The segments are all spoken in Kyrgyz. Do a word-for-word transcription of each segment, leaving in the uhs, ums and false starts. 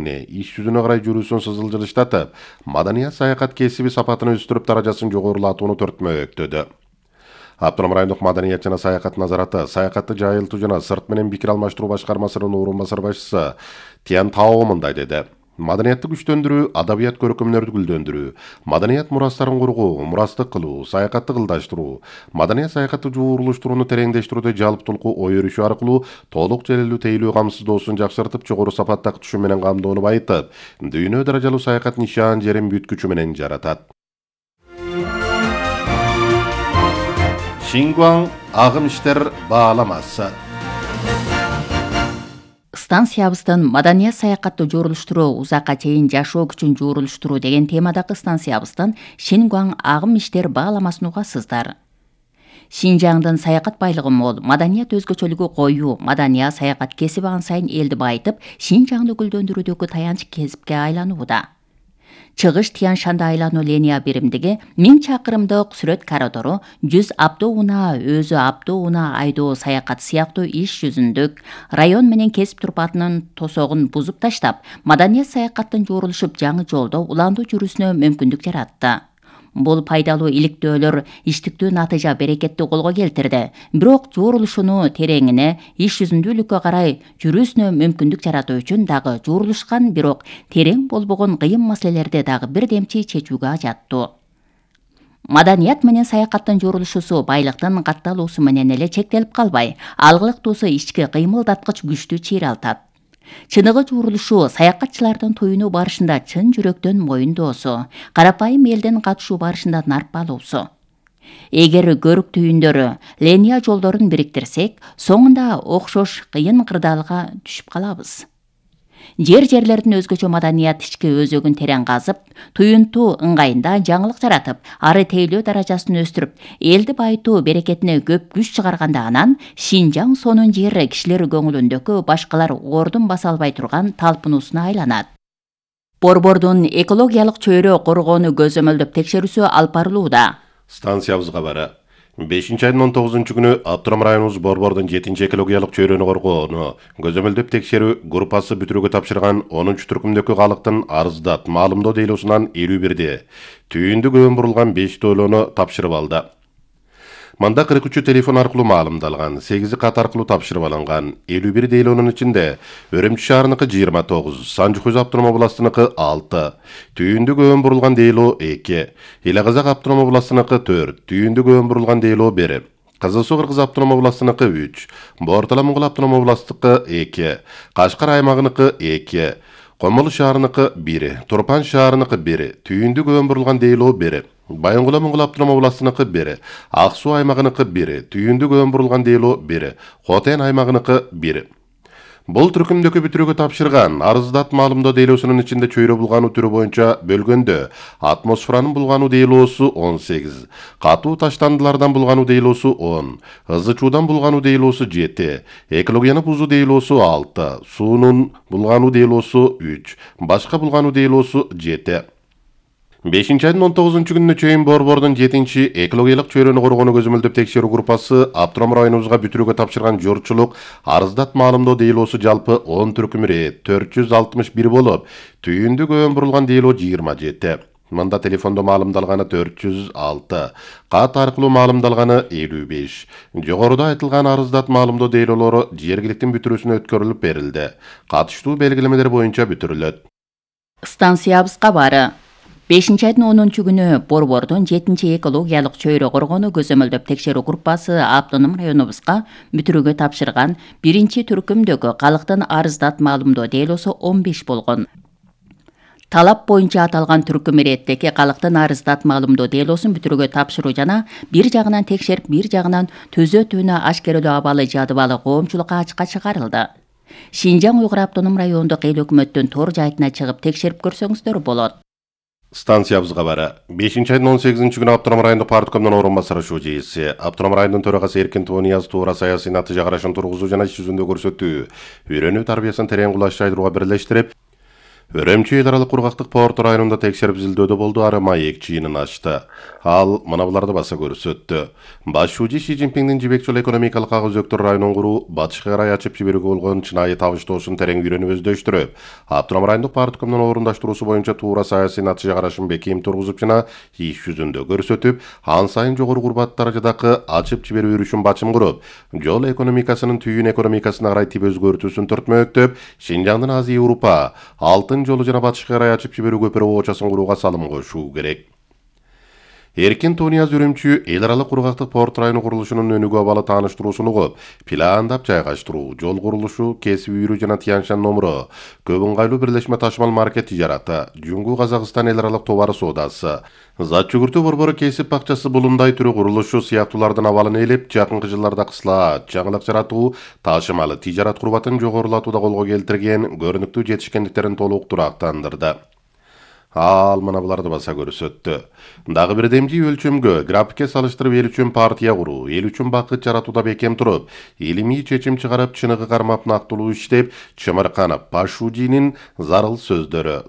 кеңине иш жүзүнө карай жүрүүсүн сызылжылыштатып, маданият саякат кесиби сапатын өстүрүп даражасын жогорулатууну төртмөктөдү. Автоном райондук маданият жана саякат назараты, саякатты жайылтуу жана сырт менен пикир алмаштыруу башкармасынын орун басар башчысы Тиян Тао мындай деди. Маданиятты күчтөндүрүү, адабият көркөмдөрдү гүлдөндүрүү, маданият мурастарын коргоо, мурастык кылуу, саякатты кылдаштыруу, маданият саякатты жуурулуштурууну тереңдештирүүдө жалптулкуу ой өрүшүү аркылуу толук желелүү тейлүү камсыздоосун жакшыртып, жогору сапаттагы түшүм менен камдоону байытып, дүйнө даражалуу саякат нишан жерин бүткүчү менен жаратат. Шингуан агым иштер бааламасы. Станциябыздын маданият саякатты жуурулуштуруу, узакка чейин жашоо күчүн жуурулуштуруу деген темадагы станциябыздын Шингуан агым иштер бааламасын угасыздар. Шинжаңдын саякат байлыгы мол, маданият өзгөчөлүгү коюу, маданият саякат кесиби ан сайын элди байытып, Шинжаңды гүлдөндүрүүдөгү таянч кесипке айланууда. Чыгыш Тиян Шанда айлануу линия биримдиги миң чакырымдык сүрөт коридору, жүз авто унаа, өзү авто унаа айдоо саякат сыяктуу иш жүзүндүк район менен кесип турпатынын тосогун бузуп таштап, маданият саякаттын жуурулушуп жаңы жолдо уландуу жүрүүсүнө мүмкүндүк жаратты. Бул пайдалуу иликтөөлөр иштиктүү натыйжа берекетти колго келтирди. Бирок жуурулушуну тереңине, иш жүзүндүүлүккө карай жүрүүсүнө мүмкүндүк жаратуу үчүн дагы жуурулушкан, бирок терең болбогон кыйын маселелерди дагы бирдемчи чечүүгө ажаттуу. Маданият менен саякаттын жуурулушусу байлыктын катталуусу менен эле чектелип калбай, алгылыктуусу ички кыймылдаткыч күчтүү чыйралтат. Чыныгы жуурулушу саякатчылардын туюнуу барышында чын жүрөктөн моюндоосу, карапайым элдин катышуу барышында нарпалуусу. Эгер көрүк түйүндөрү, линия жолдорун бириктирсек, соңунда окшош кыйын кырдаалга түшүп калабыз. Жер-жерлердин өзгөчө маданият ички өзөгүн терең казып, туюнтуу ыңгайында жаңылык жаратып, ары тейлөө даражасын өстүрүп, элди байытуу берекетине көп күч чыгарганда анан Шинжаң сонун жер кишилер көңүлүндөгү башкалар ордун баса албай турган талпынуусуна айланат. Борбордун экологиялык чөйрө коргоону көзөмөлдөп текшерүүсү алып барылууда. Станциябызга бары бешинчи айдын он тогузунчу күнү Автоном районубуз Борбордун жетинчи экологиялык чөйрөнү коргоону көзөмөлдөп текшерүү группасы бүтүрүүгө тапшырган онунчу түркүмдөгү калктын арыздат маалымдоо дейлоосунан элүү бирди түйүндү көбөн бурулган беш дойлоону тапшырып алды. Манда кырк үчү телефон аркылуу маалымдалган, сегизи кат аркылуу тапшырып алынган. элүү бир дейлоонун ичинде Өрөмчү шаарыныкы жыйырма тогуз, Санжы-Хуз автоном областыныкы алты, түйүндү көбөн бурулган дейлоо эки, Эле Казак автоном областыныкы төрт, түйүндү көбөн бурулган дейлоо бир, Кызыл Суу Кыргыз автоном областыныкы үч, Бортала Моңгол автоном областыкы эки, Кашкар аймагыныкы эки, Комолу шаарыныкы бир, Турпан шаарыныкы бир, түйүндү көбөн бурулган дейлоо бир, Байоңгула Моңгол автоном областыныкы бир, Ак Суу аймагыныкы бир, түйүндү көбөн бурулган дейлоо бир, Хотен аймагыныкы бир. Бул түркүмдөгү бүтүрүүгө тапшырган арыздат маалымдоо дейлоосунун ичинде чөйрө булгануу түрү боюнча бөлгөндө атмосферанын булгануу дейлоосу он сегиз, катуу таштандылардан булгануу дейлоосу он, ызы чуудан булгануу дейлоосу жети, экологияны бузуу дейлоосу алты, суунун булгануу дейлоосу үч, башка булгануу дейлоосу жети. бешинчи айдын он тогузунчу күнүнө чейин Борбордун жетинчи экологиялык чөйрөнү коргоону көзөмөлдөп текшерүү группасы Автоном районубузга бүтүрүүгө тапшырган журтчулук арыздат маалымдоо дейлоосу жалпы он түркүм ирет төрт жүз алтымыш бир болуп, түйүндү көбөн бурулган дейлоо жыйырма жети. Мында телефондо маалымдалганы төрт жүз алты, кат аркылуу маалымдалганы элүү беш. Жогоруда айтылган арыздат маалымдоо дейлоолору жергиликтин бүтүрүүсүнө өткөрүлүп берилди. Катыштуу белгилемелер боюнча бүтүрүлөт. Станциябызга бары бешинчи айдын онунчу күнү Борбордун жетинчи экологиялык чөйрө коргоону көзөмөлдөп текшерүү группасы Автоном районубузга бүтүрүүгө тапшырган биринчи түркүмдөгү калктын арыздат маалымдоо дейлоосу он беш болгон. Талап боюнча аталган түркүм иреттеги калктын арыздат маалымдоо дейлоосун бүтүрүүгө тапшыруу жана бир жагынан текшерип, бир жагынан төзөтүүнү ашкерелөө абалы жадыбалы коомчулукка ачыкка чыгарылды. Шинжаң Уйгур автоном райондук эл өкмөттүн тор жайтына чыгып текшерип көрсөңүздөр болот. Станциябызга бары бешинчи айдын он сегизинчи күнү Автоном райондук парткомдун орун басары шужейси, Автоном районунун төрагасы Эркин Туунияз туура саясий натыйжа карашын тургузуу жана иш жүзүндө көрсөтүү, үйрөнүү тарбиясын терең кулаш жайдырууга бирлештирип, Өрөмчү эл аралык кургактык порт районунда текшерип изилдөөдө болду ары маек чыйынын ачты. Ал мына буларды баса көрсөттү. Баш шүүжү Ши Цзиньпиндин Жибек жолу экономикалык ак өзөктөр районун куруу батышка карай ачып жиберүүгө болгон чынайы табыштоосун терең үйрөнүп өздөштүрүп, Абдурахман райондук парткомдун орундаштыруусу боюнча туура саясий натыйжа карашын бекем тургузуп жана иш жүзүндө көрсөтүп, ан сайын жогору курбат даражадагы ачып жиберүү үрүшүн бачым куруп, жол экономикасынын түйүн экономикасына карай тип өзгөртүүсүн төртмөктөп, Шинжаңдын Азия Европа алтын жолу жана батышка карай ачып жиберүү көпүрө оочасын курууга салым кошуу керек. Эркин Тонияз Өрөмчү эл аралык кургактык порт району курулушунун өнүгүү абалы тааныштыруусун угуп, пландап жайгаштыруу, жол курулушу, кесип үйрүү жана Тянь-Шань номуру, көп ыңгайлуу бирлешме ташымал маркет тижараты, Жуңгу Казакстан эл аралык товар соодасы, зат жүгүртүү борбору кесип бакчасы булундай түрү курулушу сыяктуулардын абалын ээлеп, жакынкы жылдарда кыслаат, жаңылык жаратуу, ташымалы тижарат курбатын жогорулатууда колго келтирген көрүнүктүү жетишкендиктерин толук турактандырды. Ал мына буларды баса көрсөттү. Дагы бир демжи өлчөмгө графикке салыштырып эл үчүн партия куруу, эл үчүн бакыт жаратууда бекем туруп, илимий чечим чыгарып, чыныгы кармап нактылуу иштеп, чымырканып, Пашужинин зарыл сөздөрү.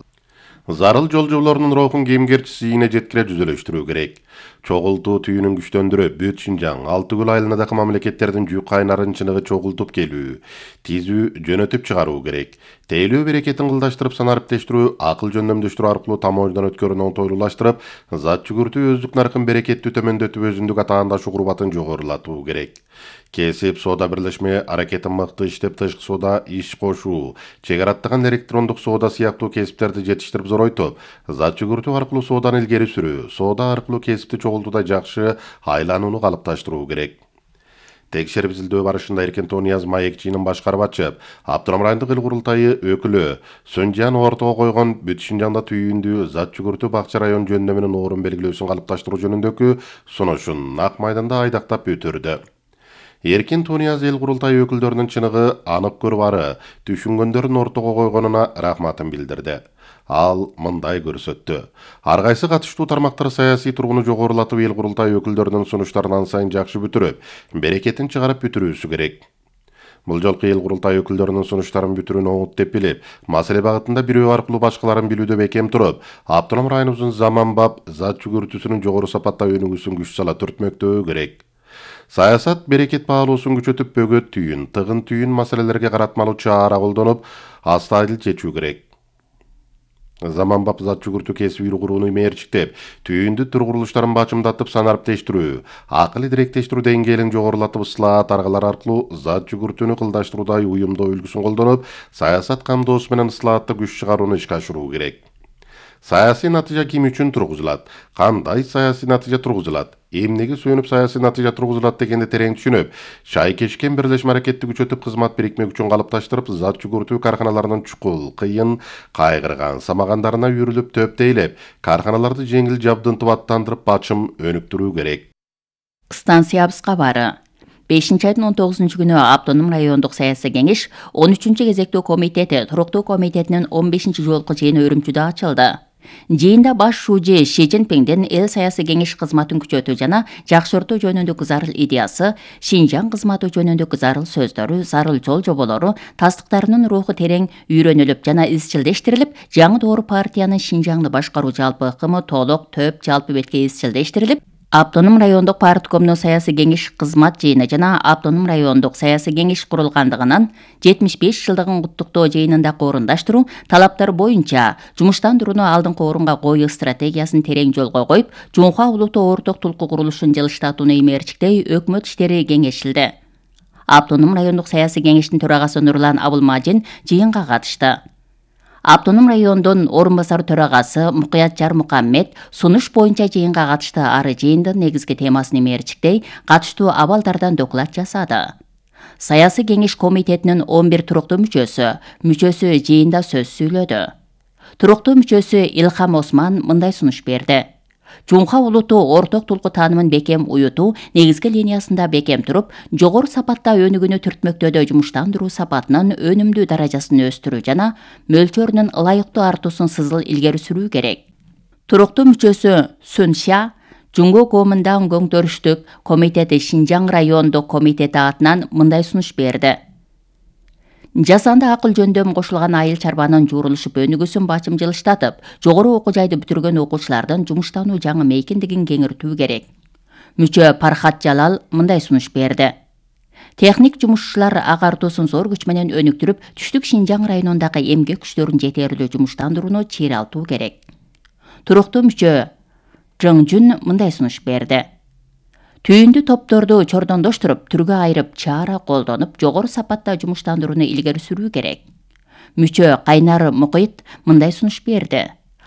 Зарыл жолжолорунун рухун кемгерчиси ийине жеткире жүзөлөштүрүү керек. Чогултуу түйүнүн күчтөндүрүп, бүт Шинжаң, Алты көл айылындагы мамлекеттердин жүк кайнарын чыныгы чогултуп келүү, тизүү, жөнөтүп чыгаруу керек. Тейлөө берекетин кылдаштырып, санариптештирүү, акыл жөндөмдөштүрүү аркылуу тамоождон өткөрүүнү оңтойлуулаштырып, зат жүгүртүү өздүк наркын берекеттүү төмөндөтүп, өзүндүк атаандашу курбатын жогорулатуу керек. Кесип соода бирлешме аракетин мыкты иштеп, тышкы соода иш кошуу, чек араттаган электрондук соода сыяктуу кесиптерди жетиштирип зоройтуп, зат жүгүртүү аркылуу сооданы илгери сүрүү, соода аркылуу кесипти чогултууда жакшы айланууну калыпташтыруу керек. Текшерип изилдөө барышында Эркин Тонияз маек чыйынын башкарып ачып, Абдурахман райондук эл курултайы өкүлү Сөнжан ортого койгон бүт Шинжаңда түйүндүү зат жүгүртүү бакча район жөндөмүнүн орун белгилөөсүн калыпташтыруу жөнүндөгү сунушун ак майданда айдактап өтөрдү. Эркин Тонияз эл курултайы өкүлдөрүнүн чыныгы, анык көрүп ары түшүнгөндөрүн ортого койгонуна рахматын билдирди. Ал мындай көрсөттү. Ар кайсы катыштуу тармактар саясий тургуну жогорулатып, эл курултайы өкүлдөрүнүн сунуштарын ан сайын жакшы бүтүрүп, берекетин чыгарып бүтүрүүсү керек. Бул жолку эл курултайы өкүлдөрүнүн сунуштарын бүтүрүүнү оңут деп билип, маселе багытында бирөө аркылуу башкаларын билүүдө бекем туруп, Абдурахман районубуздун заманбап зат жүгүртүүсүнүн жогору сапатта өнүгүүсүн күч сала түртмөктөө керек. Саясат берекет баалоосун күчөтүп, бөгөт түйүн, тыгын түйүн маселелерге каратмалуу чара колдонуп, астайыл чечүү керек. Заманбап зат жүгүртүү кесип үйрүү курууну мээрчиктеп, түйүндү түр курулуштарын бачымдатып, санариптештирүү, акыл идиректештирүү деңгээлин жогорулатып, ысылаат аргалары аркылуу зат жүгүртүүнү кылдаштырууда уюмдоо үлгүсүн колдонуп, саясат камдоосу менен ысылаатты күч чыгарууну ишке ашыруу керек. Саясий натыйжа ким үчүн тургузулат? Кандай саясий натыйжа тургузулат? Эмнеге сүйөнүп саясий натыйжа тургузулат дегенди терең түшүнүп, шайкешкен бирлешме аракетти күчөтүп, кызмат бирикме күчүн калыпташтырып, зат жүгүртүү карканаларынын чукул, кыйын, кайгырган, самагандарына үйрүлүп, төптейлеп, карканаларды жеңил жабдынтып аттандырып, бачым өнүктүрүү керек. Станциябыз кабары. бешинчи айдын он тогузунчу күнү Автоном райондук саясий кеңеш он үчүнчү кезектүү комитети туруктуу комитетинин он бешинчи жолку жыйыны Үрүмчүдө ачылды. Жыйында баш шүүжү Ши Цзиньпиндин эл саясий кеңеш кызматын күчөтүү жана жакшыртуу жөнүндөгү зарыл идеясы, Шинжаң кызматы жөнүндөгү зарыл сөздөрү, зарыл жол жоболору, тастыктарынын руху терең үйрөнүлүп жана изчилдештирилип, жаңы доор партиянын Шинжаңды башкаруу жалпы ыкымы толук төп жалпы бетке изчилдештирилип, Автоном райондук парткомдун саясий кеңеш кызмат жыйыны жана Автоном райондук саясий кеңеш курулгандыгынан жетимиш беш жылдыгын куттуктоо жыйынында орундаштыруу талаптар боюнча жумуштандырууну алдыңкы орунга коюу стратегиясын терең жолго коюп, Жуңха улуттуу орток тулку курулушун жылыштатууну имээрчиктей өкмөт иштери кеңешилди. Автоном райондук саясий кеңештин төрагасы Нурлан Абылмажин жыйынга катышты. Автоном райондун орун басар төрагасы Мукуят Жармукаммет сунуш боюнча жыйынга катышты. Ары жыйындын негизги темасын имээрчиктей катыштуу абалдардан доклад жасады. Саясий кеңеш комитетинин он бир туруктуу мүчөсү, мүчөсү жыйында сөз сүйлөдү. Туруктуу мүчөсү Илхам Осман мындай сунуш берди. Жуңха улуттуу орток тулку таанымын бекем уютуу, негизги линиясында бекем туруп, жогору сапатта өнүгүүнү түртмөктөөдө жумуштандыруу сапатынын өнүмдүү даражасын өстүрүү жана мөлчөрүнүн ылайыктуу артуусун сызыл илгери сүрүү керек. Туруктуу мүчөсү Сүн Ша Жуңгу Комундаң көңтөрүштүк комитети Шинжаң райондук комитети атынан мындай сунуш берди. Жасанды акыл жөндөм кошулган айыл чарбанын жуурулушуп өнүгүүсүн бачым жылыштатып, жогору окуу жайды бүтүргөн окуучулардын жумуштануу жаңы мейкиндигин кеңиртүү керек. Мүчө Пархат Жалал мындай сунуш берди. Техник жумушчулар агартуусун зор күч менен өнүктүрүп, түштүк Шинжаң районундагы эмгек күчтөрүн жетерлүү жумуштандырууну чыйралтуу керек. Туруктуу мүчө Жың Жүн мындай сунуш берди. Түйүндү топторду чордондоштуруп, түргө айырып, чаара колдонуп, жогору сапатта жумуштандырууну илгери сүрүү керек. Мүчө Кайнар Мукит мындай сунуш берди.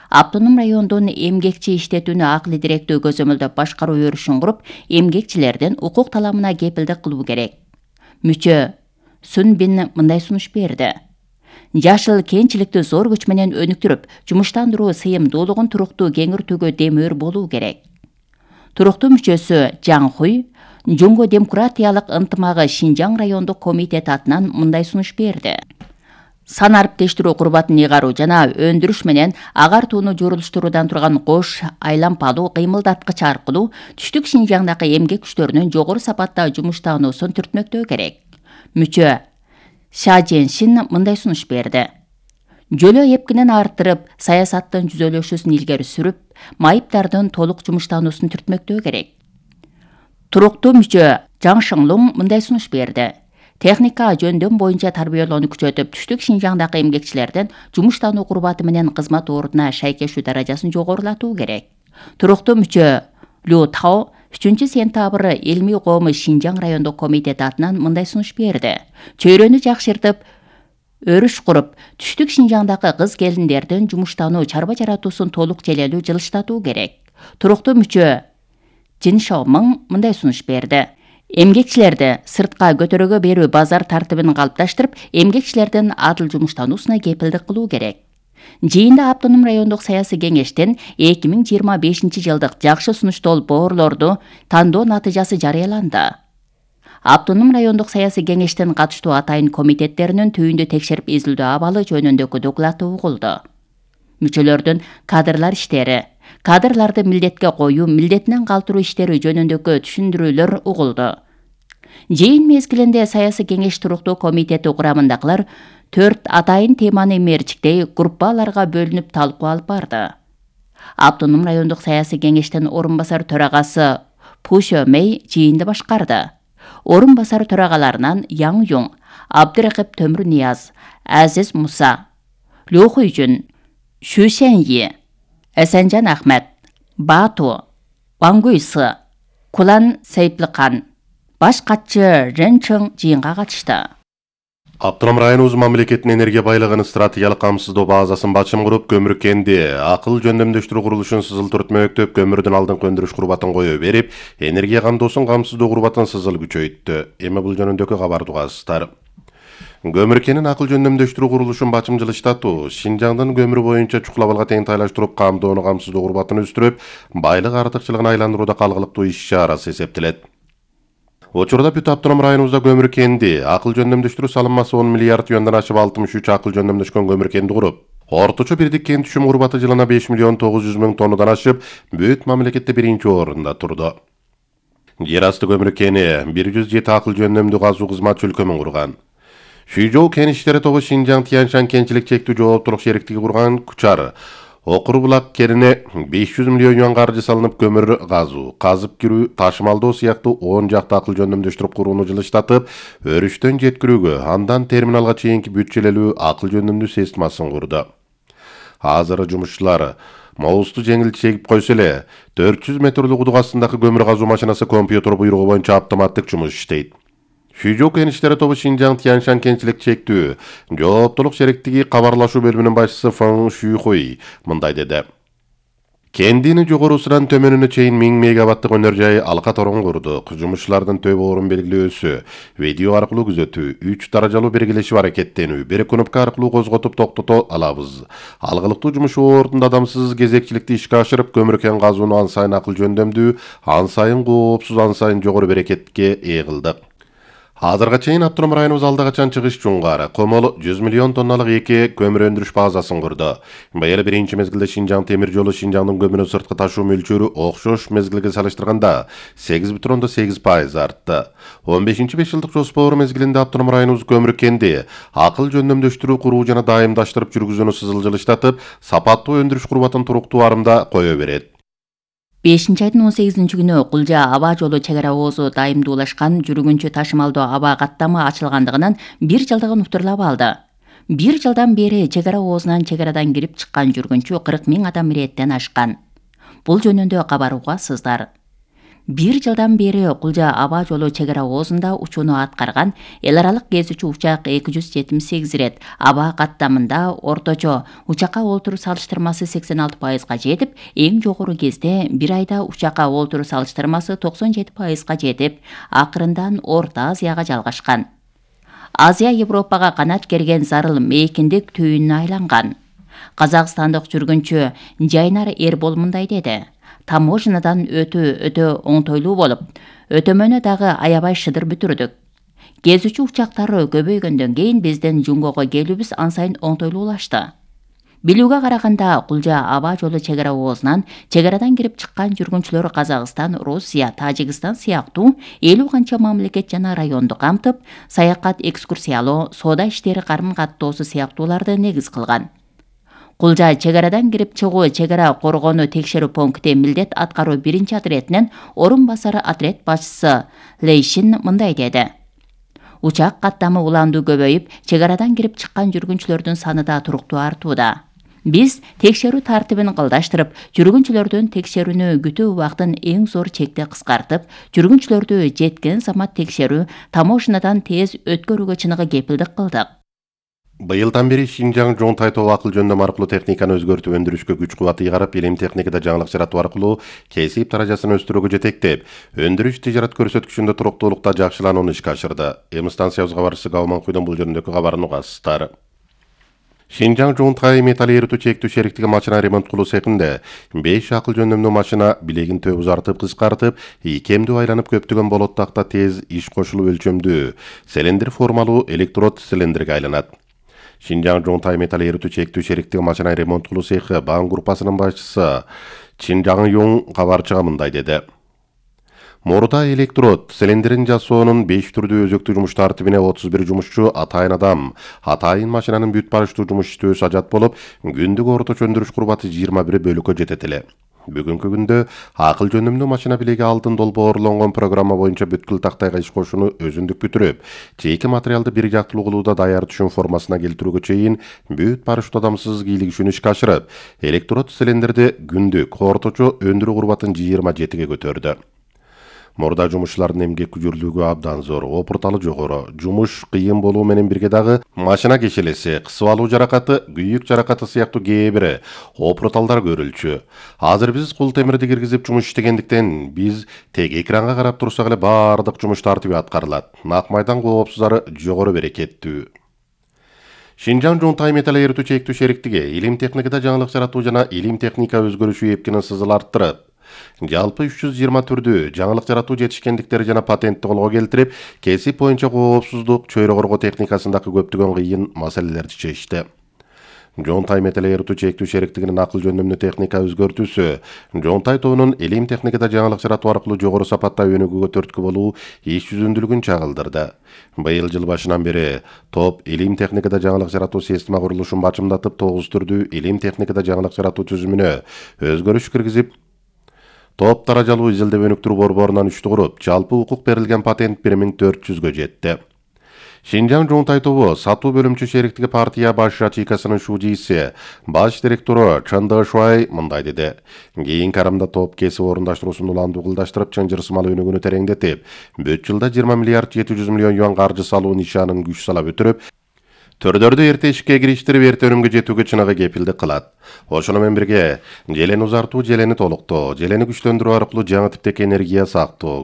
Автоном райондун эмгекчи иштетүүнү акыл директүү көзөмөлдөп башкаруу өрүшүн куруп, эмгекчилердин укук таламына кепилдик кылуу керек. Мүчө Сүн Бин мындай сунуш берди. Жашыл кенчиликти зор күч менен өнүктүрүп, жумуштандыруу сыйымдуулугун туруктуу кеңиртүүгө демөөр болуу керек. Туруктуу мүчөсү Жан Хуй Жунго демократиялык ынтымагы Шинжаң райондук комитети атынан мындай сунуш берди. Сан ариптештирүү курбатын ыйгаруу жана өндүрүш менен агартууну журулуштуруудан турган кош айлампалуу кыймылдаткыч аркылуу түштүк Шинжаңдагы эмгек күчтөрүнүн жогору сапатта жумуштануусун түртмөктөө керек. Мүчө Ша Женшин мындай сунуш берди. Жөлөө эпкинин арттырып, саясаттын жүзөлөшүүсүн илгери сүрүп, майыптардын толук жумуштануусун түртмөктөө керек. Туруктуу мүчө Жаң Шыңлуң мындай сунуш берди. Техника жөндөм боюнча тарбиялоону күчөтүп, түштүк Шинжаңдагы эмгекчилердин жумуштануу курбаты менен кызмат ордуна шайкештүү даражасын жогорулатуу керек. Туруктуу мүчө Лю Тао үчүнчү сентябрь Элми коому Шинжаң райондук комитети атынан мындай сунуш берди. Чөйрөнү жакшыртып, өрүш куруп, түштүк Шинжаңдагы кыз келиндердин жумуштануу чарба жаратуусун толук желелүү жылыштатуу керек. Туруктуу мүчө Жин Шаомың мындай сунуш берди. Эмгекчилерди сыртка көтөрөгө берүү базар тартибин калыпташтырып, эмгекчилердин адыл жумуштануусуна кепилдик кылуу керек. Жыйында Автоном райондук саясий кеңештин эки миң жыйырма бешинчи жылдык жакшы сунуштол боорлорду тандоо натыйжасы жарыяланды. Автоном райондук саясий кеңештин катыштуу атайын комитеттеринин түйүндү текшерип изилдөө абалы жөнүндөгү доклаты угулду. Мүчөлөрдүн кадрлар иштери, кадрларды милдетке коюу, милдетинен калтыруу иштери жөнүндөгү түшүндүрүүлөр угулду. Жыйын мезгилинде саясий кеңеш туруктуу комитети курамындагылар төрт атайын теманы мерчиктей группаларга бөлүнүп талкуу алып барды. Автоном райондук саясий кеңештин орун басар төрагасы Пу Шөмей жыйынды башкарды. Орун басар төрагаларынан Яң Юң, Абдыракып Төмүр Нияз, Азиз Муса, Лю Хуйжун, Шу Шэньи, Эсенжан Ахмет, Бату, Вангуйсы, Кулан Сейпликан, баш катчы Рен Чың жыйынга катышты. Автоном районубуз мамлекеттин энергия байлыгын стратегиялык камсыздоо базасын бачым куруп, көмүр кенди акыл жөндөмдөштүрүү курулушун сызыл түртмөктөп, көмүрдүн алдыңкы өндүрүш курбатын кое берип, энергия камдоосун камсыздоо курбатын сызыл күчөйттү. Эми бул жөнүндөгү кабарды угасыздар. Көмүр кенин акыл жөндөмдөштүрүү курулушун бачым жылыштатуу, Шинжаңдын көмүр боюнча чукулабалга теңтайлаштырып, камдоону камсыздоо курбатын өстүрүп, байлык артыкчылыгын айландырууда калгылыктуу иш-чарасы эсептелет. Учурда бүт Автоном районубузда көмүр кенди акыл жөндөмдөштүрүү салынмасы он миллиард юандан ашып алтымыш үч акыл жөндөмдөшкөн көмүр кенди куруп, орточо бирдик кен түшүм курбаты жылына беш миллион тогуз жүз миң тоннадан ашып, бүт мамлекетте биринчи орунда турду. Жер асты көмүр кени бир жүз жети акыл жөндөмдүү казуу кызматчы өлкөмүн курган. Шүйжоу кен иштери тобу Шинжаң Тяньшан кенчилик чектүү жооптулук шериктиги курган Кучар Окур булак керине беш жүз миллион юан каржы салынып, көмүр казуу, казып кирүү, ташымалдоо сыяктуу он жакты акыл жөндөмдөштүрүп курууну жылыштатып, өрүштөн жеткирүүгө, андан терминалга чейинки бүт желелүү акыл жөндөмдүү системасын курду. Азыр жумушчулар Моусту жеңил чегип койсо эле, төрт жүз метрлик удук астындагы көмүр казуу машинасы компьютер буйругу боюнча автоматтык жумуш иштейт. Шүйжоу кен иштери тобу Шинжаң Тяньшан кенчилик чектүү жооптулук шериктиги кабарлашуу бөлүмүнүн башчысы Фэн Шүйхуй мындай деди. Кендини жогорусунан төмөнүнө чейин миң мегаваттык өнөр жай алка торон курдук. Жумушчулардын төбө орун белгилөөсү, видео аркылуу күзөтүү, үч даражалуу бергилешип аракеттенүү, бир кнопка аркылуу козготуп токтото алабыз. Алгылыктуу жумуш ордунда адамсыз кезекчиликти ишке ашырып, көмүр кен казууну ан сайын акыл жөндөмдүү, ан сайын коопсуз, ан сайын жогору берекетке ээ кылдык. Азырга чейин Автоном районубуз алда качан чыгыш жунгары комол жүз миллион тонналык эки көмүр өндүрүш базасын курду. Быйыл биринчи мезгилде Шинжаң темир жолу Шинжаңдын көмүрүн сырткы ташуу мөлчөрү окшош мезгилге салыштырганда сегиз бүтүн ондон сегиз пайыз артты. он бешинчи беш жылдык жоспор мезгилинде Автоном районубуз көмүр кенди акыл жөндөмдөштүрүү куруу жана дайымдаштырып жүргүзүүнү сызылжылыштатып, сапаттуу өндүрүш курбатын туруктуу арымда кое берет. бешинчи айдын он сегизинчи күнү Кулжа аба жолу чек ара оозу дайымдуулашкан жүргүнчү ташымалдуу аба каттамы ачылгандыгынан бир жылдыгын уктурлап алды. Бир жылдан бери чек ара оозунан чек арадан кирип чыккан жүргүнчү кырк миң адам иреттен ашкан. Бул жөнүндө кабар угасыздар. Бир жылдан бери Кулжа аба жолу чек ара оозунда учууну аткарган эл аралык кезүүчү учак эки жүз жетимиш сегиз ирет. Аба каттамында орточо учакка олтуруу салыштырмасы сексен алты пайызга жетип, эң жогору кезде бир айда учакка олтуруу салыштырмасы токсон жети пайызга жетип, акырындан Орто Азияга жалгашкан. Азия Европага канат керген зарыл мейкиндик түйүнүнө айланган. Казакстандык жүргүнчү Жайнар Эрбол мындай деди: таможнядан өтүү өтө оңтойлуу болуп, өтөмөнү дагы аябай шыдыр бүтүрдүк. Кезүүчү учактары көбөйгөндөн кийин биздин Жунгого келүүбүз ан сайын оңтойлуулашты. Билүүгө караганда Кулжа аба жолу чек ара оозунан чек арадан кирип чыккан жүргүнчүлөр Казакстан, Россия, Тажикстан сыяктуу элүү канча мамлекет жана районду камтып, саякат, экскурсиялоо, соода иштери карым-каттоосу сыяктууларды негиз кылган. Кулжа чек арадан кирип чыгуу чек ара коргонуу текшерүү пункти милдет аткаруу биринчи отрядынын орун басары отряд башчысы Лейшин мындай деди: учак каттамы уландуу көбөйүп, чек арадан кирип чыккан жүргүнчүлөрдүн саны да туруктуу артууда. Биз текшерүү тартибин кылдаштырып, жүргүнчүлөрдүн текшерүүнү күтүү убактын эң зор чекте кыскартып, жүргүнчүлөрдү жеткен замат текшерүү, таможнядан тез өткөрүүгө чыныгы кепилдик кылдык. Быйылдан бери Шинжаң Жонтай тоо акыл жөндөм аркылуу техниканы өзгөртүп өндүрүшкө күч кубат ыйгарып, илим техникада жаңылык жаратуу аркылуу кесип даражасын өстүрүүгө жетектеп, өндүрүш тижарат көрсөткүчүндө туруктуулукта жакшыланууну ишке ашырды. Эми станциябыз кабарчысы Гауман Куйдун бул жөнүндөгү кабарын угасыздар. Шинжаң Жонтай металл эритүү чектүү шериктиги машина ремонт кылуу цехинде беш акыл жөндөмдүү машина билегин төп узартып, кыскартып, икемдүү айланып көптөгөн болоттакта тез иш кошулуп өлчөмдүү цилиндр формалуу электрод цилиндрге айланат. Шинжаң Жонтай металл эритүү чектүү шериктиги машина ремонт кылуу цехи Баан группасынын башчысы Чинжаң Юң кабарчыга мындай деди: Мурда электрод цилиндрин жасоонун беш түрдүү өзөктүү жумуш тартибине отуз бир жумушчу атайын адам, атайын машинанын бүт барыштуу жумуш иштөөсү ажат болуп, күндүк орточо өндүрүш курбаты жыйырма бир бөлүккө жетет эле. Бүгүнкү күндө акыл жөндөмдүү машина билеги алдын долбоорлонгон программа боюнча бүткүл тактайга иш кошууну өзүндүк бүтүрүп, чийки материалды бир жактылуу кылууда даяр түшүм формасына келтирүүгө чейин бүт барыштуу адамсыз кийлигишүүнү ишке ашырып, электрод цилиндрди күндүк орточо өндүрүү курбатын жыйырма жетиге көтөрдү. Мурда жумушчулардын эмгек күчүрлүгү абдан зор, опурталы жогору, жумуш кыйын болуу менен бирге дагы машина кешелеси, кысып алуу жаракаты, күйүк жаракаты сыяктуу кээ бир опурталдар көрүлчү. Азыр биз кул темирди киргизип жумуш иштегендиктен биз тек экранга карап турсак эле баардык жумуш тартиби аткарылат. Нак майдан коопсуздары жогору берекеттүү. Шинжаң Жонтай металл эритүү чектүү шериктиги илим техникада жаңылык жаратуу жана илим техника өзгөрүшү эпкинин сызыл арттырып, жалпы үч жүз жыйырма түрдүү жаңылык жаратуу жетишкендиктери жана патентти колго келтирип, кесип боюнча коопсуздук, чөйрө коргоо техникасындагы көптөгөн кыйын маселелерди чечти. Жонтай металл эритүү чектүү шериктигинин акыл жөндөмдүү техника өзгөртүүсү Жонтай тоонун илим техникада жаңылык жаратуу аркылуу жогору сапатта өнүгүүгө түрткү болуу иш жүзүндүүлүгүн чагылдырды. Быйыл жыл башынан бери топ илим техникада жаңылык жаратуу система курулушун бачымдатып, тогуз түрдүү илим техникада жаңылык жаратуу түзүмүнө өзгөрүш киргизип, топ даражалуу изилдеп өнүктүрүү борборунан үчтү куруп, жалпы укук берилген патент бир миң төрт жүзгө жетти. Шинжаң Жонтай тобу сатуу бөлүмчү шериктиги партия баш ячейкасынын шуудийси, баш директору Чанда Шуай мындай деди: кийинки арымда топ кесип орундаштыруусун уландуу кылдаштырып, чынжырсымал өнүгүүнү тереңдетип, бүт жылда жыйырма миллиард жети жүз миллион юан каржы салуу нишанын күч сала бүтүрүп, төрдөрдү эрте ишке кириштирип, эрте өнүмгө жетүүгө чыныгы кепилдик кылат. Ошону менен бирге желени узартуу, желени толуктоо, желени күчтөндүрүү аркылуу жаңы типтеги энергия сактоо,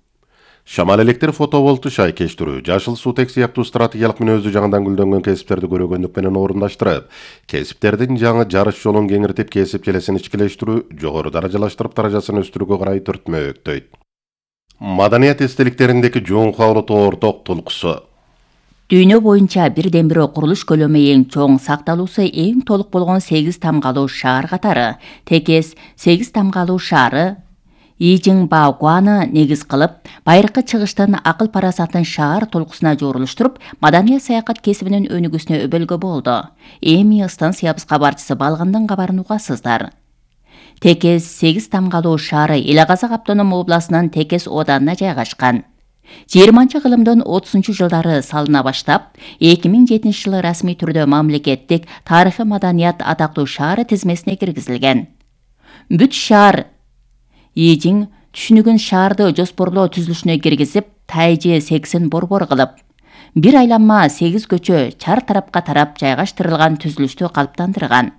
шамал электр фотоволтту шайкештирүү, жашыл суутек сыяктуу стратегиялык мүнөздүү жаңыдан гүлдөнгөн кесиптерди көрөгөндүк менен орундаштырып, кесиптердин жаңы жарыш жолун кеңиртип, кесип желесин ичкилештирүү, жогору даражалаштырып, даражасын өстүрүүгө карай түртмө өктөйт. Маданият эстеликтериндеги жоңкулуу орток толкусу. Дүйнө боюнча бирден бири курулуш көлөмү эң чоң, сакталуусу эң толук болгон сегиз тамгалуу шаар катары текес сегиз тамгалуу шаары Ийжиң Баогуаны негиз кылып, байыркы чыгыштын акыл парасатын шаар толкусуна жорулуштуруп, маданият саякат кесибинин өнүгүүсүнө өбөлгө болду. Эми станциябыз кабарчысы Балгандын кабарын угасыздар. Текес сегиз тамгалуу шаары Эле Казак автоном областынын Текес оданына жайгашкан. жыйырманчы кылымдын отузунчу жылдары салына баштап, эки миң жетинчи жылы расмий түрдө мамлекеттик тарыхый маданият атактуу шаар тизмесине киргизилген. Бүт шаар Ийжиң түшүнүгүн шаарды жоспорлоо түзүлүшүнө киргизип, тайжы сексен борбор кылып, бир айланма сегиз көчө чар тарапка тарап жайгаштырылган түзүлүштү калыптандырган.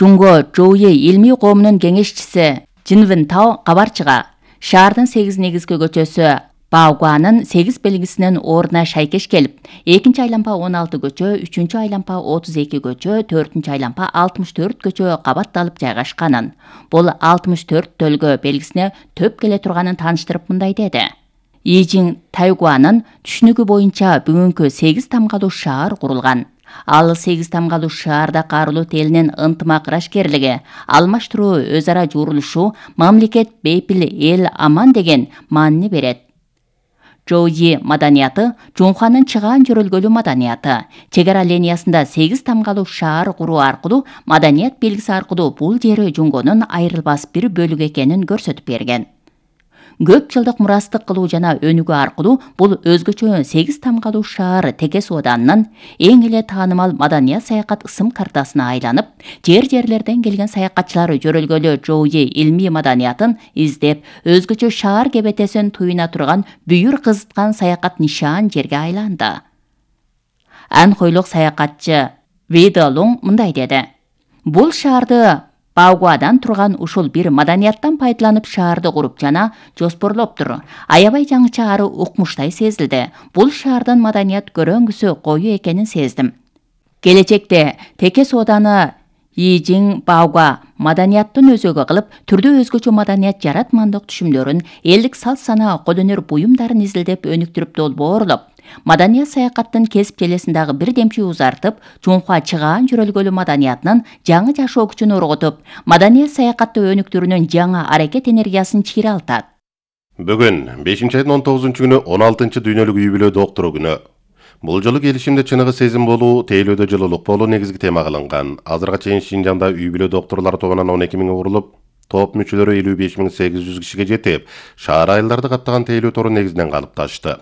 Жунго Жоуи илмий коомунун кеңешчиси Жинвин Тао кабарчыга шаардын сегиз негизги көчөсү Баогуанын сегиз белгисинин ордуна шайкеш келип, экинчи айланпа он алты көчө, үчүнчү айланпа отуз эки көчө, төртүнчү айланпа алтымыш төрт көчө кабатталып жайгашканын, бул алтымыш төрт төлгө белгисине төп келе турганын тааныштырып мындай деди. Ийжиң Тайгуанын түшүнүгү боюнча бүгүнкү сегиз тамгалуу шаар курулган. Ал сегиз тамгалуу шаарда Каарулут элинин ынтымак ырашкерлиги, алмаштыруу, өз ара журулушуу, мамлекет бейпил, эл аман деген маанини берет. Жоуи маданияты Жоңханын чыгаан жөрөлгөлүү маданияты. Чек ара линиясында сегиз тамгалуу шаар куруу аркылуу маданият белгиси аркылуу бул жери Жоңгонун айрылбас бир бөлүгү экенин көрсөтүп берген. Көп жылдык мурастык кылуу жана өнүгүү аркылуу бул өзгөчө сегиз тамгалуу шаар Текес оданынын эң эле таанымал маданият саякат ысым картасына айланып, жер-жерлерден келген саякатчылар жөрөлгөлүү Жоуи илмий маданиятын издеп, өзгөчө шаар кебетесин туюна турган бүйүр кызыткан саякат нишан жерге айланды. Анхойлук саякатчы Вида Лонг мындай деди. Бул шаарды Баогуадан турган ушул бир маданияттан пайдаланып шаарды куруп жана жоспорлоптур. Аябай жаңыча ары укмуштай сезилди. Бул шаардын маданият көрөңгүсү кою экенин сездим. Келечекте Текес оданы Ийжиң Баогуа маданияттын өзөгү кылып, түрдө өзгөчө маданият жаратмандык түшүмдөрүн, элдик салт сана, кол өнөр буюмдарын изилдеп өнүктүрүп долбоорлоп, маданият саякаттын кесип желесиндагы бир демчи узартып, Жоңхуа чыгаан жөрөлгөлүү маданиятынын жаңы жашоо күчүн ургутуп, маданият саякатты өнүктүрүүнүн жаңа аракет энергиясын чыйралтат. Бүгүн бешинчи айдын он тогузунчу күнү он алтынчы дүйнөлүк юбилей доктуру күнү. Бул жолу келишимде чыныгы сезим болуу, тейлөөдө жылуулук болуу негизги тема кылынган. Азырга чейин Шинжаңда юбилей доктурлар тобунан он эки миң курулуп, топ мүчөлөрү элүү беш миң сегиз жүз кишиге жетип, шаар айылдарды каптаган тейлөө тору негизинен калыпташты.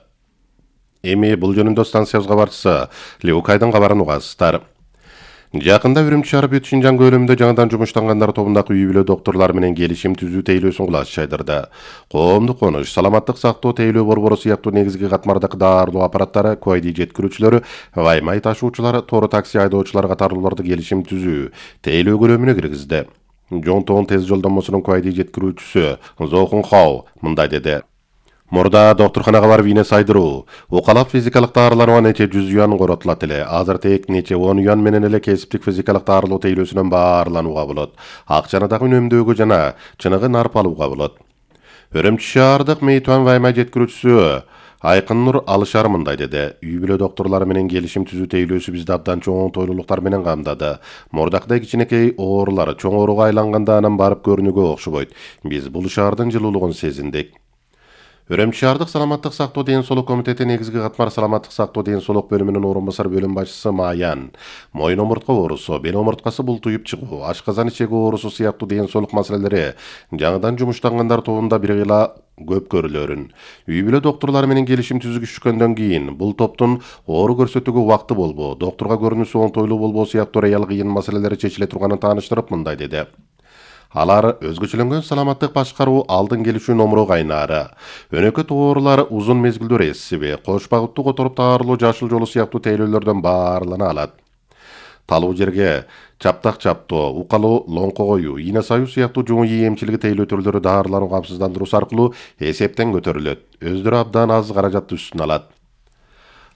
Эми бул жөнүндө станциябыз кабарчысы Леукайдын кабарын угасыздар. Жакында Үрүмчү шаар бүт Шинжаң көлөмүндө жаңыдан жумуштангандар тобундагы юбилей доктурлар менен келишим түзүү тейлөөсүн кулаш жайдырды. Коомдук конуш, саламаттык сактоо тейлөө борбору сыяктуу негизги катмардагы даарылоо аппараттары, куайди жеткирүүчүлөрү, ваймай ташуучулар, тору такси айдоочулар катарлууларды келишим түзүү тейлөө көлөмүнө киргизди. Жоңтоон тез жолдомосунун куайди жеткирүүчүсү Зохун Хау мындай деди. Мурда доктурханага барып ийне сайдыруу, укалап физикалык даарыланууга нече жүз юан коротулат эле. Азыр тек нече он юан менен эле кесиптик физикалык даарылоо тейлөөсүнөн баарланууга болот. Акчаны дагы үнөмдөөгө жана чыныгы нарп алууга болот. Үрүмчү шаардык Мейтуан ваймай жеткирүүчүсү Айкын Нур Алышар мындай деди. Юбилей доктурлары менен келишим түзүү тейлөөсү бизди абдан чоң тойлуулуктар менен камдады. Мурдактай кичинекей оорулар чоң ооруга айланганда анан барып көрүнүүгө окшобойт. Биз бул шаардын жылуулугун сезиндик. Үрүмчү шаардык саламаттык сактоо ден соолук комитети негизги катмар саламаттык сактоо ден соолук бөлүмүнүн орун басар бөлүм башчысы Маян, моюн омуртка оорусу, бел омурткасы бултуюп чыгуу, ашказан ичеги оорусу сыяктуу ден соолук маселелери жаңыдан жумуштангандар тобунда бир гыйла көп көрүлөрүн. Юбилей доктурлары менен келишим түзүшкөндөн кийин бул топтун оору көрсөтүүгө убакыты болбоо, доктурга көрүнүүсү оңтойлуу болбоо сыяктуу реал кыйын маселелери чечиле турганын тааныштырып мындай деди. Алар өзгөчөлөнгөн саламаттык башкаруу, алдын келишүү номуру кайнаары, өнөкөт оорулар узун мезгилдүү эссиби, кош багыттуу которуп таарылуу жашыл жолу сыяктуу тейлөөлөрдөн баарлана алат. Талуу жерге чаптак чаптоо, укалуу лоңко коюу, ийне саюу сыяктуу жуңуй эмчилиги тейлөө түрлөрү даарылануу камсыздандыруусу аркылуу эсептен көтөрүлөт. Өздөрү абдан аз каражатты үстүнө алат.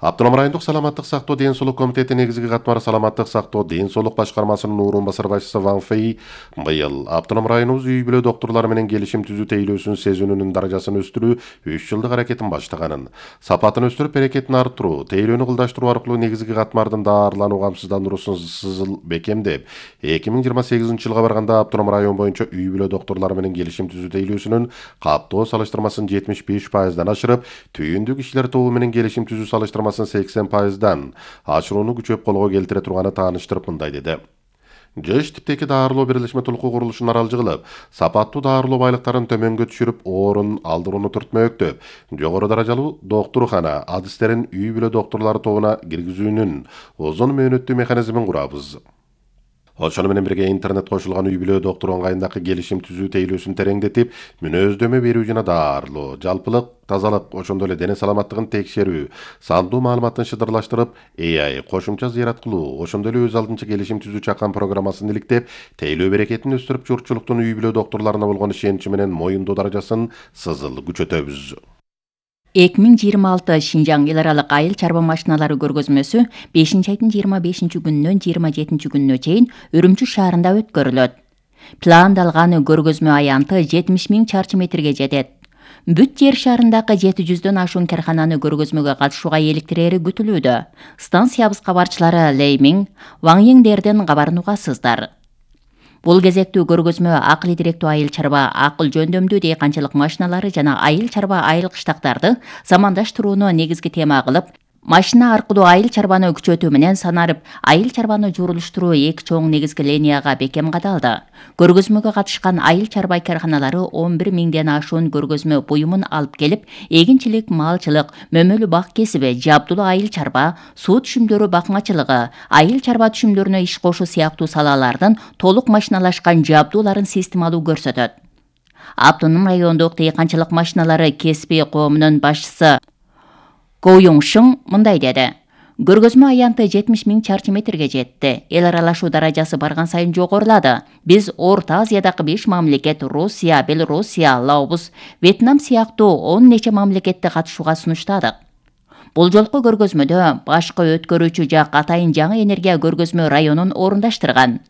Автоном райондук саламаттык сактоо ден соолук комитети негизги катмары саламаттык сактоо ден соолук башкармасынын орун басар башчысы Ван Фэй быйыл автоном районубуз үй бүлө доктурлары менен келишим түзүү тейлөөсүн сезүүнүн даражасын өстүрүү үч жылдык аракетин баштаганын, сапатын өстүрүп берекетин арттыруу, тейлөөнү кылдаштыруу аркылуу негизги катмардын даарылануу камсыздандыруусун сызыл бекемдеп, эки миң жыйырма сегизинчи жылга барганда автоном район боюнча үй бүлө доктурлары менен келишим түзүү тейлөөсүнүн каттоо салыштырмасын жетимиш беш пайыздан ашырып, түйүндүү кишилер тобу менен келишим түзүү салыштырмасын сексен пайыздан ашырууну күчөп колго келтире турганы тааныштырып мындай деди. ЖЭШ типтеги даарылоо бирилишме толуку курулушун аралжы кылып, сапаттуу даарылоо байлыктарын төмөнгө түшүрүп, орун алдырууну түртмөктөп, жогору даражалуу доктурхана адистерин үй бүлө доктурлары тобуна киргизүүнүн узун мөөнөттүү механизмин курабыз. Ошону менен бирге интернет кошулган үй бүлө доктуру ыңгайындагы келишим түзүү тейлөөсүн тереңдетип, мүнөздөмө берүү жана даарылоо, жалпылык тазалык, ошондой эле дене саламаттыгын текшерүү, сандуу маалыматтын шыдырлаштырып, A I кошумча зыярат кылуу, ошондой эле өз алдынча келишим түзүү чакан программасын иликтеп, тейлөө берекетин өстүрүп, журтчулуктун үй бүлө доктурларына болгон ишеничи менен моюндоо даражасын сызыл күчөтөбүз. эки миң жыйырма алты Шинжаң эл аралык айыл чарба машиналары көргөзмөсү бешинчи айдын жыйырма бешинчи күнүнөн жыйырма жетинчи күнүнө чейин Үрүмчү шаарында өткөрүлөт. Пландалган көргөзмө аянты жетимиш миң чарчы метрге жетет. Бүт жер шарындагы жети жүздөн ашуун кархананы көргөзмөгө катышууга эликтирери күтүлүүдө. Станциябыз кабарчылары Леймиң, Ваң Йеңдерден кабарын угасыздар. Бул кезектүү көргөзмө акыл идиректүү айыл чарба, акыл жөндөмдүү дыйканчылык машиналары жана айыл чарба айыл кыштактарды замандаштырууну негизги тема кылып, машина аркылуу айыл чарбаны күчөтүү менен санарып, айыл чарбаны журулуштуруу эки чоң негизги линияга бекем кадалды. Көргөзмөгө катышкан айыл чарба карханалары он бир миңден ашуун көргөзмө буюмун алып келип, эгинчилик, малчылык, мөмөлүү бак кесиби, жабдуулуу айыл чарба, суу түшүмдөрү бакмачылыгы, айыл чарба түшүмдөрүнө иш кошуу сыяктуу салалардын толук машиналашкан жабдууларын системалуу көрсөтөт. Автоном райондук дыйканчылык машиналары кесиби коомунун башчысы Го Юңшың мындай деди. Көргөзмө аянты жетимиш миң чарчы метрге жетти. Эл аралашуу даражасы барган сайын жогорулады. Биз Орто Азиядагы беш мамлекет, Россия, Белоруссия, Лаос, Вьетнам сыяктуу он нече мамлекетти катышууга сунуштадык. Бул жолку көргөзмөдө башкы өткөрүүчү жак Атайын жаңы энергия көргөзмө районун орундаштырган.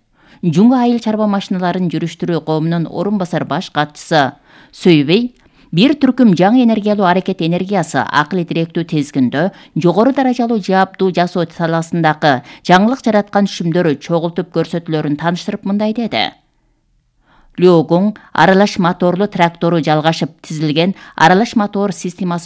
Жуңго айыл чарба машиналарын жүрүштүрүү коомунун орун басар баш катчысы Сөйбей бир түркүм жаңы энергиялуу аракет энергиясы акыл идиректүү тизгиндө жогору даражалуу жабдуу жасоо саласындагы жаңылык жараткан түшүмдөр чогултуп көрсөтүүлөрүн тааныштырып мындай деди. Лёгуң аралаш моторлуу трактору жалгашып тизилген аралаш мотор системасы